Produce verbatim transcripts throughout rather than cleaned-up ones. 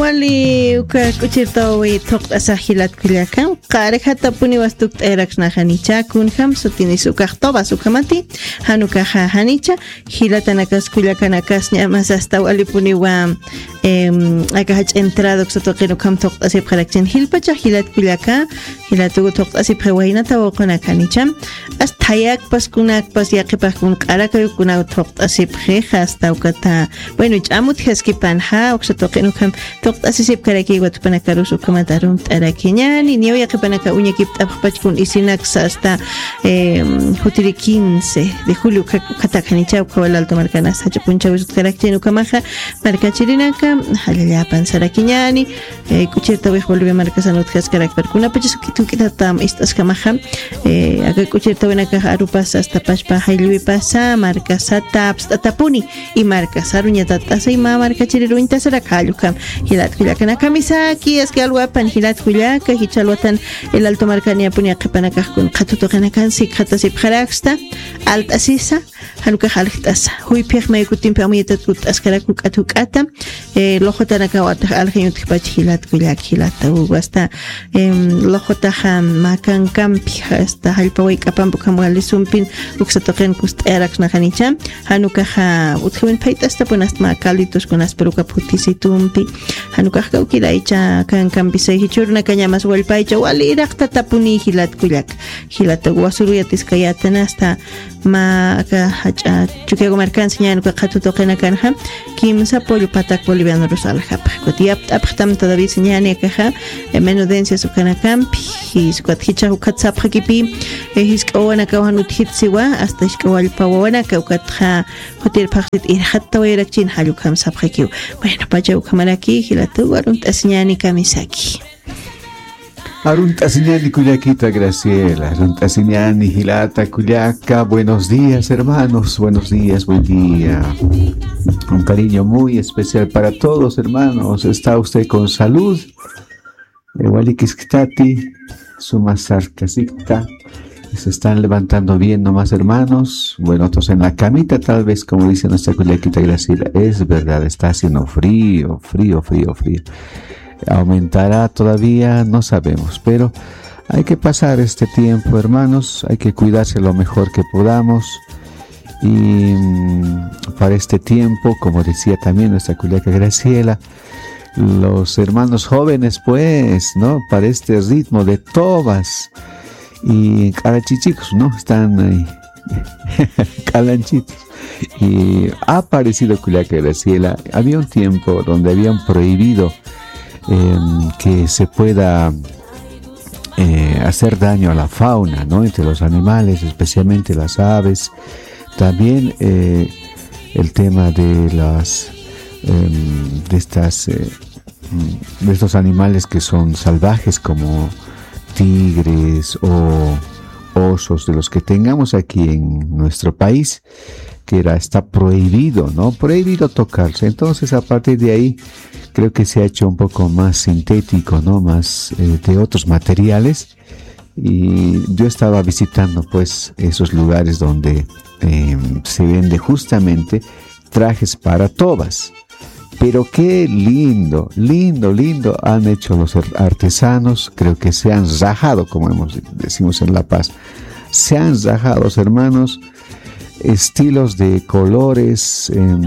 Wali uka k'uchirtawi thuqt'asax jilat kullaka, qarjatapuni wastukt'ayraksnaxanicha, kunjam sutinis ukax tobas ukamati, jan ukaxa janicha, jilatanakas kullakanakas ñamas asta walipuniwa, em, aka jach'a entrada uksa tuqin ukham thuqt'asipxarakchin jilpachax jilat kullaka, jilatugu thuqt'asipxi waynata wawqunakanicha, asta thayakpas kunakpas yaqhipax kun q'arakayukuna thuqt'asipxi, asta ukata, bueno, ch'amut jaskipanxa, uksa tuqin ukham thuqt'asisipkaraki watupanakarusa ukhamat arunt'arakiñani, niyaw yaqhipanaka uñakipt'apxpach kun isinaksa asta, em, jutiri quince de julio ukha-, ukhatakanicha, ukhawa Alto markanas jach'a punchawis utjarakchini ukhamaxa, markachirinaka, jallallapan sarakiñani, eh, k'uchirtawix Bolivia markasan utjaskarakpar kunapachas juk'it juk'itatam ist'askamaxa, eh, aka k'uchirtawinakax arupasa asta pachpa jallwipasa, markasata apst'atapuni, y markasaruñatat'asa ima markachiriruñtasarak jall ukham, jilat kullakanakamisaki, aski alwapan jilat kullaka, jichha alwatan el Alto markaniyapuni yaqhipanakax kun qhatutuqinakan sikxatasipxaraksta, alt'asisa, jan ukax aljt'asa. Juyphix may kutimpi amuyatat kutt'askarak juk'at juk'ata, eh, luxutanakaw atax aljañ utjpach jilat kullak, jilata ugu asta, em, luxutaxa mä kankampi, asta jallpa wayk'apampi ukham wali sumpin uksa tuqin kust'ayaraksnaxanicha, jan ukaxa utjawin phayt'astapun asta mä calditos kunas, pero uka phutisitumpi, jan ukax kawkiraycha kankampi say jichhürunakañamas wallpaycha wali iraqtatapuni jilat kullak, jilata ugu wasuruyatiskayätan asta, mä aka jach'a Chukiyawu markansa ñani uka qhatutuqinakanxa, kimsa pollo patak bolivianorus aljapxa. Ukat yapt'apxtam todavía ñani akaxa, eh, menudencias ukanakampi, jis ukat jichhax ukat sapxakipi, eh, jisk'a wawanakaw jan utjitsiwa, asta jisk'a wallpa wawanaka ukatxa, jutir phaxsit irxattawayarakchin jall ukham sapxakiw. Bueno, pacha ukhamaraki, jilata ugu arunt'asiñani kamisaki. Arunt'asiñani kullakita Graciela, arunt'asiñani jilata kullaka. Buenos días, hermanos, buenos días, buen día. Un cariño muy especial para todos, hermanos. ¿Está usted con salud? Eh, walikiskitati, suma sarkasikta. Se están levantando bien nomás, hermanos. Bueno, otros en la camita, tal vez, como dice nuestra kullakita Graciela. Es verdad, está haciendo frío, frío, frío, frío. Aumentará todavía, no sabemos, pero hay que pasar este tiempo, hermanos, hay que cuidarse lo mejor que podamos. Y, mm, para este tiempo, como decía también nuestra kullaka Graciela, los hermanos jóvenes, pues, ¿no? Para este ritmo de tobas y q'alachichikus, ¿no? Están ahí, q'alanchitos. Y ha aparecido kullaka Graciela. Había un tiempo donde habían prohibido, em, que se pueda, eh, hacer daño a la fauna, ¿no? Entre los animales, especialmente las aves. También, eh, el tema de las, em, de estas, eh, mm, de estos animales que son salvajes como tigres o osos, de los que tengamos aquí en nuestro país, que era, está prohibido, ¿no? Prohibido tocarse. Entonces, a partir de ahí, creo que se ha hecho un poco más sintético, ¿no? Más, eh, de otros materiales. Y yo estaba visitando, pues, esos lugares donde, eh, se vende justamente trajes para tobas. Pero qué lindo, lindo, lindo han hecho los ar-, artesanos. Creo que se han rajado, como hemos, decimos en La Paz. Se han rajado, los hermanos, estilos de colores, em,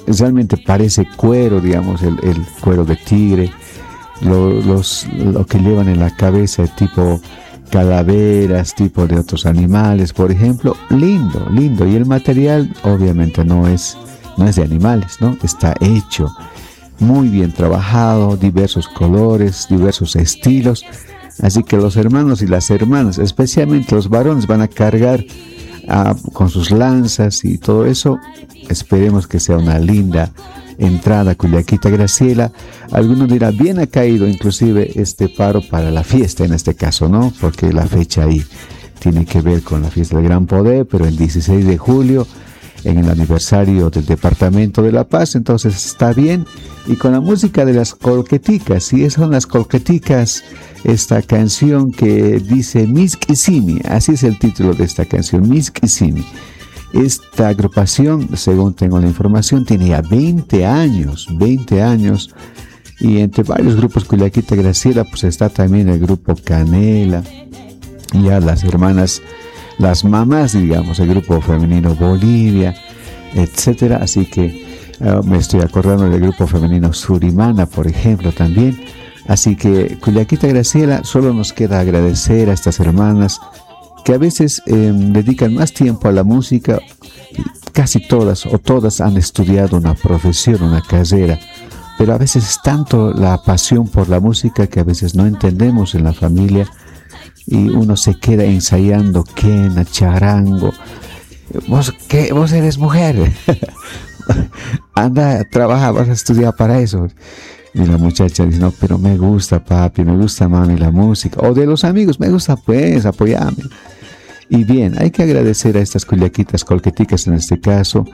realmente parece cuero, digamos, el, el cuero de tigre, lo, los, lo que llevan en la cabeza, tipo calaveras, tipo de otros animales, por ejemplo. Lindo, lindo. Y el material, obviamente, no es, no es de animales, ¿no? Está hecho muy bien trabajado, diversos colores, diversos estilos. Así que los hermanos y las hermanas, especialmente los varones, van a cargar, ah, con sus lanzas y todo eso. Esperemos que sea una linda entrada, kullakita Graciela. Alguno dirá, bien ha caído inclusive este paro para la fiesta en este caso, ¿no? Porque la fecha ahí tiene que ver con la fiesta del Gran Poder, pero el dieciséis de julio, en el aniversario del Departamento de La Paz, entonces está bien. Y con la música de las Colqueticas, y esas son las Colqueticas, esta canción que dice Misk'isimi, así es el título de esta canción, Misk'isimi. Esta agrupación, según tengo la información, tiene ya veinte años, veinte años Y entre varios grupos, kullakita Graciela, pues está también el grupo Canela, ya las hermanas, las mamás, digamos, el grupo femenino Bolivia, etcétera. Así que ah, me estoy acordando del grupo femenino Surimana, por ejemplo, también. Así que, kullakita Graciela, solo nos queda agradecer a estas hermanas que a veces em, dedican más tiempo a la música. Casi todas o todas han estudiado una profesión, una carrera, pero a veces es tanto la pasión por la música que a veces no entendemos en la familia y uno se queda ensayando quena, charango. ¿Vos qué? ¿Vos eres mujer? Anda, trabaja, vas a estudiar para eso. Y la muchacha dice, no, pero me gusta, papi, me gusta, mami, la música. O de los amigos, me gusta, pues, apoyame. Y bien, hay que agradecer a estas cullaquitas colqueticas en este caso,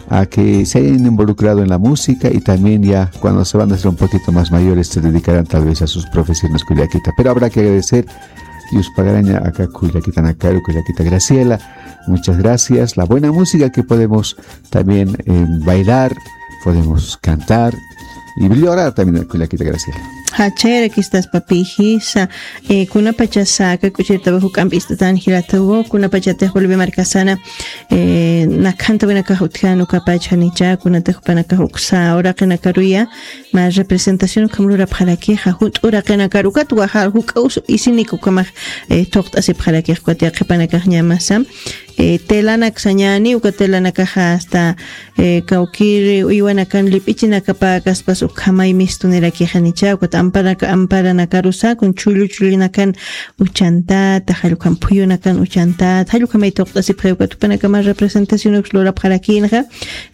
a que se hayan involucrado en la música y también ya cuando se van a hacer un poquito más mayores se dedicarán tal vez a sus profesiones cullaquitas. Pero habrá que agradecer y uspagaraña acá cullaquita Nacaru, cullaquita Graciela. Muchas gracias. La buena música que podemos también eh, bailar, podemos cantar y llorar también, cullaquita Graciela. Hachayrakistas papijisa, eh, kunapachasa aka k'uchirtawa juk'ampi ist'atan jilatugo, kunapachatix Bolivia markasana, eh, nakhantawinakax utjan ukapach janicha, kunatix jupanakax uksa uraqinakaruya, mä representación ukham lurapxarakixa, junt'u uraqinakar ukat waja juk'a us isinik ukhamax, eh, thuqt'asipxarakix ukat yaqhipanakax ñamasa, eh, telanaksañani, uka telanakaxa hasta, eh, kawkir uywanakan lip'ichinakapäkaspas ukhamay mistunirakixa nicha, ukat amparaka-, amparanakarusa, kun chullu chullinakan uchantata, jallukam phuyunakan uchantata, jallukhamay thuqt'asipxi ukat jupanakama representación uks lurapxarakinxa,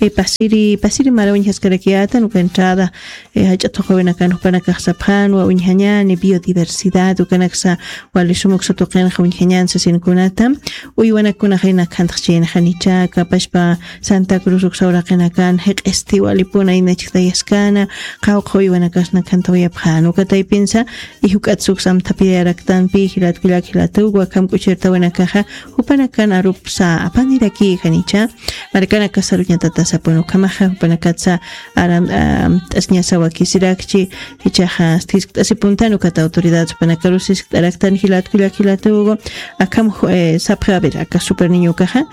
eh, pasiri, pasiri mara uñjaskarakiyätan, uka entrada, eh, jach'a thuqawinakan jupanakax sapxänwa, uñjañäni biodiversidad, ukanaksa wali sum uksa tuqinxa uñjañän sasin kunata, uywanakkunaxa nakhantxchïnxa nicha, kapachpa Santa Cruz uksa uraqinakan, jiq'isti walipuna inachktayaskana, qawqha uywanakas nakhantawayapxän, uka taypinsa, y juk'atsa uksa amthapiyaraktanpi, jilat kullak jilatuwa, akham k'uchirtawinakaxa, jupanakan arupsa, apanirakixa nicha, markanakasa aruñatatasapun ukhamaxa, jupanakatsa aram, am, t'asñasa wakisirakchi, jichhaxa, siskt'asipuntan, ukat autoridad, jupanakarus siskt'araktan, jilat kullak jilatugo, akham, eh, sapxi, a ver, aka super niño ukaxa,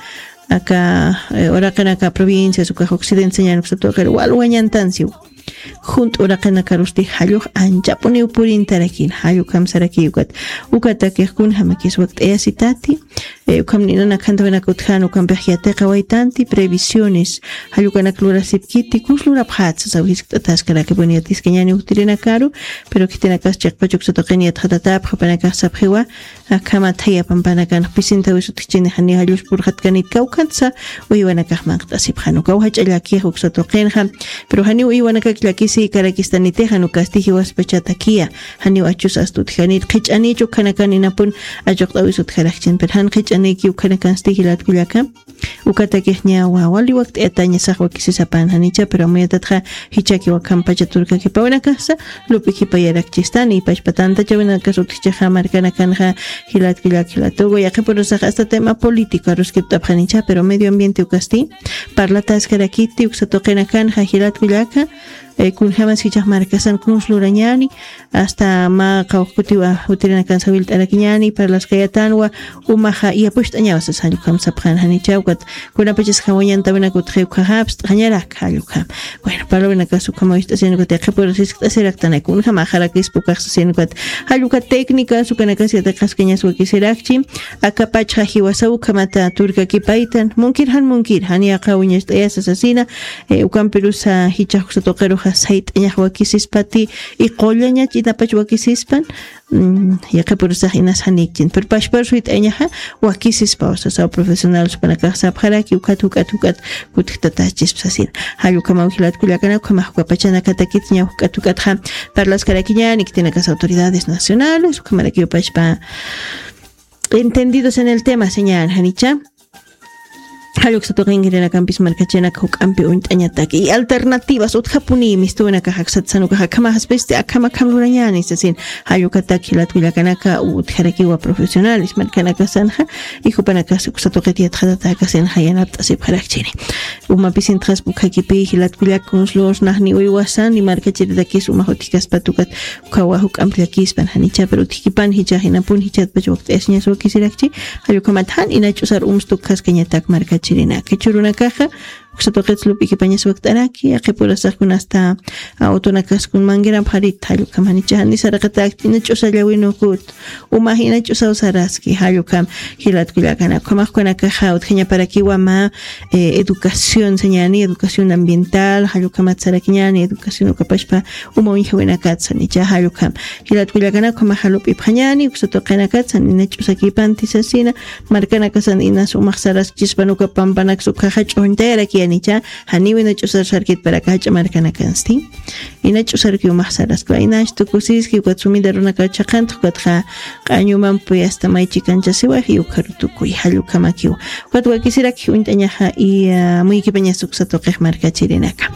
aka, eh, uraqinaka provincias, ukax occidente sañän uksa tuqir, walwañantansiw. Junt'u uraqinakarusti jallux anchapuniw purintarakin, jallukhamsaraki ukat. Ukatakix kunjamakis wakt'ayasitati, eh, ukham nina nakhantawinaka utjän ukampix yatiqawaytanti, previsiones, jallukanak lurasipkiti, kus lurapxätsa, saw jiskt'ataskaraki, bueno, yatiskañäni uktirinakaru, pero khitinakas chiqpach uksa tuqin yatxatatapxi, jupanakax sapxiwa, akham athaya pampanakan, pisintaw isutjchini janiw jallus purxatkanit kawkhatsa, uywanakax manqt'asipxan, ukaw jach'a llakix uksa tuqinxa, pero janiw uywanakak llakisïkarakistaniti, jan ukasti jiwaspachatakiya, janiw achus ast utjanit, qhich'anich ukhanakan inapun achuqt'awis utjarakchin, pero jan qhich'aniki ukhanakansti jilat kullaka, ukatakix ñawa, wali wakt'ayatañasax wakisisapan janicha, pero amuyatatxa jichhakiw akham pacha turkakipawinakasa, lup'ikipayarakchistan, y pachpa tantachawinakas utjchixa markanakanxa, jilat kullak jilatugo, yaqhipurusax hasta tema político aruskipt'apxanicha, pero medio ambiente ukasti, parlataskarakiti, uksa tuqinakanxa, jilat kullaka, eh, kunjamas jichhax markasan kunsa lurañäni, hasta mä qawqkutiwa jutirinakansa wilt'arakiñäni, parlaskayatanwa, umaxa, yapucht'añawa sas jallukhamsapxan janicha, ukat, kunapachas jawañantawinak utji ukhaxa, apst'añarak jallukham. Bueno, parlawinakas ukhama wist'asiñäni ukat yaqhipurus jiskt'asiraktanay, kunjama jarakispa ukax sasiñäni ukat, jalluka técnicas, ukanakas yatiqaskañas wakisirakchi, akapachxa jiwasaw ukhamata turkakipaytan, munkir jan munkir, jan yaqha uñacht'ayasa sasina, eh, ukampirusa jichhax uksa tuqiruxa sayt'añax wakisispati, y qullañach inapach wakisispan, mm, yaqhipurusax inas janikchin. Pero pachparus wit'añaxa, wakisispaw sasaw profesional, jupanakax sapxaraki, ukat, ukat, ukat, kutjtatächispa sasina. Jallukhamaw jilat kullakanaka, ukhamax uka pachanakatakit, ña ukat, ukatxa, parlaskarakiñäni, khitinakas autoridades nacionales, ukhamarakiw pachpa, entendidos en el tema, sañän janicha. Jall uksa tuqinkirinakampis markachirinaka juk'ampi uñt'añataki. Y alternativas, utjapuni mistuwinakaxa aksat sanukaxa akhamaxaspisti, akham akham lurañäni sasin. Jall ukatak jilat kullakanaka utjarakiwa profesionales markanakasanxa, y jupanakas uksa tuqit yatxatatäkasinxa yanapt'asipxarakchini. Umapis intxaspa ukhakipi jilat kullak kunslur, naxni uywasan, y markachiritakis umax utjkaspat ukat, ukhawa juk'amp llakispan janicha, pero utjkipan jichha jinapun jichatpach wakt'ayasiñas wakisirakchi, jall ukhamat jan ina ch'usar umstu kaskañatak markachirinaka. Jichhürunakaxa, uksa tuqit lup'ikipañas wakt'araki, yaqhip urasax kun hasta, a, utunakax kun mangueramp jarit, jall ukham janicha, jani saraqatäkti ina ch'usa llawin ukut, umax ina ch'usaw saraski, jall ukham jilat kullakanaka. Ukhamax ukanakaxa utjañaparakiwa mä, eh, educación sañäni, educación ambiental, jall ukhamat sarakiñäni, educación ukapachpa uma uñjawinakatsa, nicha jall ukham. Jilat kullakanaka, ukhamaxa lup'ipxañäni, uksa tuqinakatsa, ina ch'usakipanti sasina, markanakasan inas umax saraskchispan uka pampanaksa ukhaxa ch'uñtayarakiya nicha, janiw ina ch'usar sarkitparaka jach'a markanakansti. Ina ch'usarki umax saraskwa, inax tukusiski, ukat sumida runaka chhaqantx, ukatxa q'añumampi hasta may chikanchasiwax, y ukharu tukuy, jall ukhamakiw. Ukat wakisirak uñt'añaxa, y, ah, muykipañas uksa tuqix markachirinaka.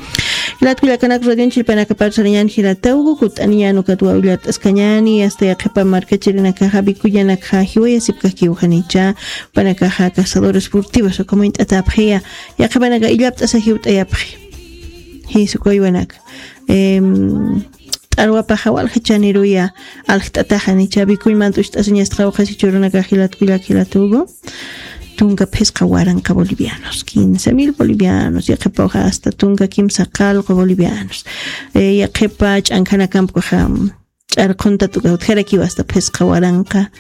Jilat kullakanaka, radioñ chillpanakapar sarañäni jilata Hugo, kutt'aniñäni ukat wawillart'askañäni, hasta yaqhipa markachirinakaxa, bikuyanakxa jiwayasipkakiw janicha, jupanakaxa cazadores furtivos ukham uñt'atäpxiya, yaqhipanaka illapt'asa jiwt'ayapxi. Jis uka uywanaka. Em, t'arwapaxa walja chaniruya aljt'ataxa nicha, bikuñmant ucht'asiñasta qawqhas jichhürunakax jilat kullak jilat Hugo. Tunka phisqa waranqa bolivianos, quince mil bolivianos, yaqhipaw hasta tunka kimsa qallqu bolivianos. Eh, yaqhipa ch'ankhanakamp ukaxa, ch'arquntat uka utjarakiwa hasta phisqa waranqa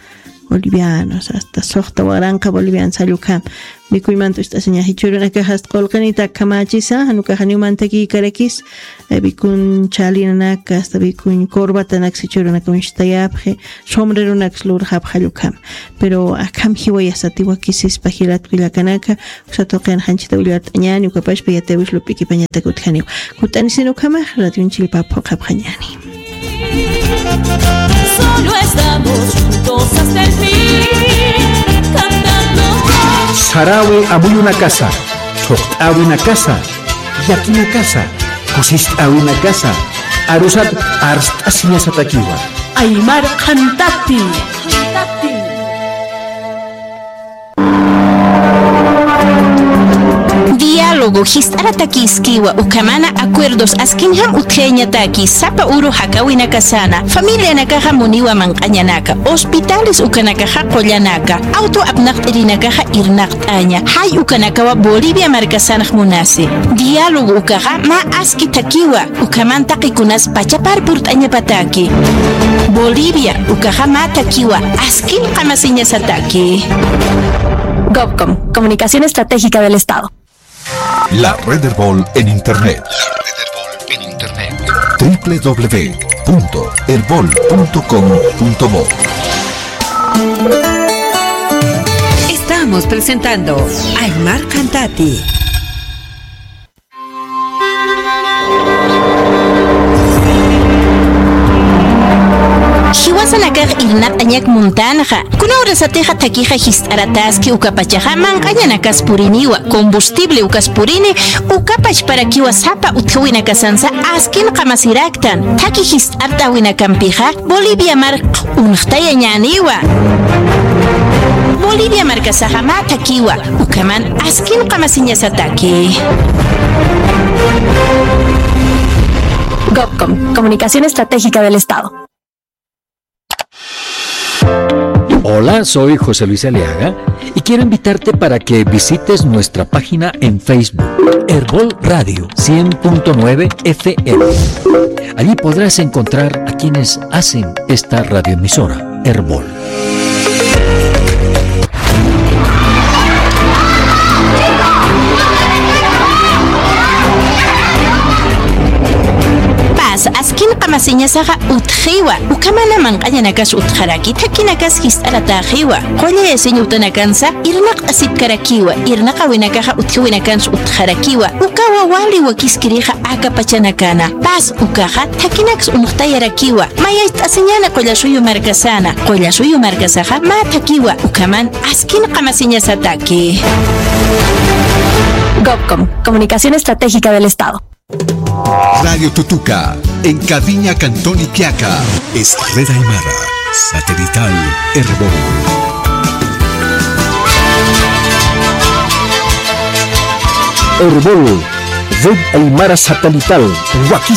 bolivianos, hasta suxta waranqa bolivianos, jall ukham. Bikuñmant ucht'asiña jichhürunakax hasta qullqinit akhamächisa, jan ukaxa janiw mantakïkarakis, eh, bikuñ chälinanaka, hasta bikuñ corbatanaksa jichhürunaka uñstayapxi, sombreronaksa lurxapxi, jall ukham. Pero akham jiwayasati wakisispa jilat kullakanaka, uksa tuqin janchita willart'añäni, ukapachpa yatiyäwis lup'ikipañatak utjaniw. Kutt'anisin ukhamax, radioñ chillpa phuqhapxañäni. Solo estamos juntos hasta el fin, cantando. Sarawi amuyunakasa, thuqt'äwinakasa, llakinakasa, kusist'äwinakasa, arusat arst'asiñasatakiwa. Aymar Qhantati. Diálogo jist'aratakïskiwa, ukhamana acuerdos askinjam utjayañataki, sapa uru jakäwinakasana, familianakaxa muniwa manq'añanaka, hospitales ukanakaxa qullanaka, auto apnaqt'irinakaxa irnaqt'aña, jay ukanakawa Bolivia markasanx munasi. Diálogo ukaxa mä aski thakiwa, ukhaman taqikunas pachapar purt'añapataki. Bolivia ukaxa mä thakiwa, askin qamasiñasataki. Gobcom, Comunicación Estratégica del Estado. La red Erbol en Internet. W W W punto erbol punto com punto bo. Estamos presentando Aymar Qhantati. Jiwasanakax irnaq'añak muntanxa, kuna urasatixa thakixa jist'arataski, ukapachaxa manq'añanakas puriniwa, combustible ukas purini, ukapachparakiwa sapa utjawinakasansa askin qamasiraktan, thaki jist'art'äwinakampixa Bolivia mark unxtayañäniwa. Bolivia markasaxa mä thakiwa, ukhaman askin qamasiñasataki. Gobcom, Comunicación Estratégica del Estado. Hola, soy José Luis Aliaga y quiero invitarte para que visites nuestra página en Facebook, Erbol Radio cien punto nueve F M. Allí podrás encontrar a quienes hacen esta radioemisora, Erbol. Paz, askin Masiñasaxa utjiwa, ukhamana manq'añanakas utjaraki, thakhinakas jist'aratäxiwa. Qullay asiñ utanakansa irnaq'asipkarakiwa, irnaqawinakaxa utjiwinakansa utjarakiwa. Ukawa wali wakiskirixa aka pachanakana. Paz ukaxa thakinaks unxtayarakiwa. Mayacht'asiñäni Qullasuyu markasäna. Qullasuyu markasaxa mä thakiwa, ukhaman askin qamasiñasataki. Gobcom, Comunicación Estratégica del Estado. Radio Tutuca, en cabina Cantón Iquiaca, es Red Aymara, satelital Erbol. Erbol, Red Aymara Satelital, Wakiz